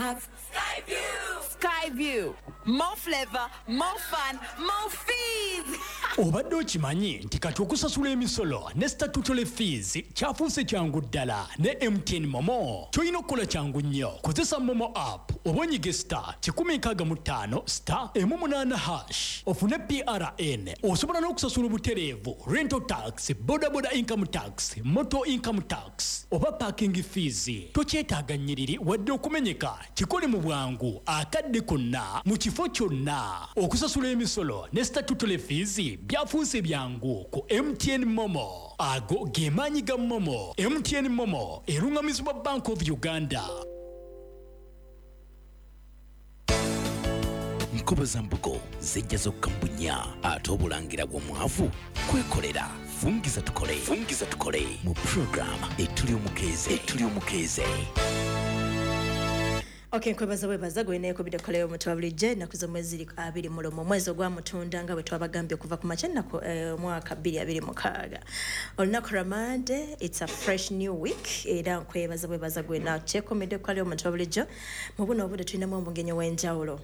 have Skyview! Skyview. More flavor, more fun, more fees! Obadde okimanyi nti kati okusasula emisolo ne statutory fees kyafuuse kyangu ddala ne MTN MoMo? Kyolina okukola kyangu nnyo. Kozesa MoMo app oba onyige *165*18# ofune PRN. Osobola n'okusasula obutereevu rental tax, bodaboda income tax, motor income tax oba parking fees. Tokyetaaga nnyiriri wadde okumenyeka. Kikole mu bwangu, akadde konna, mu kifo kyonna. Okusasula emisolo ne statutory fees byafuuse byangu ku MTN MoMo. Ago ge maanyi ga MoMo. MTN MoMo eruŋŋamizibwa Bank of Uganda. Nkoba za mbugo zijja zokka mu bunnya, ate obulangira bw'omwavu kwekolera. Fungiza tukole, fungiza tukole mu program Etuli Omukeeze, Etuli Omukeeze. Okay, nkwebaza bwebaza gwe neekubidde koleyo omuntu wa bulijjo. Ennaku z'omwezi ziri 21, omwezi ogwa Mutunda, nga bwe twabagambye okuva ku makya ennaku omwaka 2026, olunaku lwa Mande. It's a fresh new week. Era nkwebaza bwebaza gwe nakyekumidde kukaleo omuntu wa bulijjo. Mu buno obudde tulinamu omugenyi ow'enjawulo.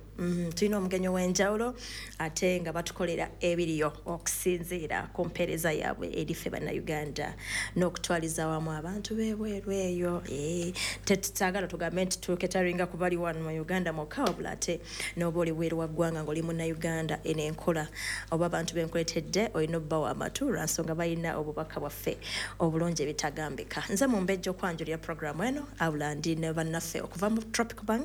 Tulina omugenyi ow'enjawulo ate nga batukolera ebiriyo okusinziira ku mpeereza yaabwe eri ffe Bannayuganda n'okutwaliza awamu abantu b'ebweru eyo. Tetutagala tugambe nti tuketaringa ku bali wano mu Uganda mwokka, wabula ate n'oba oli bweru wa ggwanga ng'oli Munnayuganda, eno enkola oba abantu benkuletedde olina obbawa amatu lwansonga balina obubaka bwaffe obulungi ebitagambika. Nze Mumbejja okwanjulira programu eno, abula ndi ne bannaffe okuva mu Tropical Bank.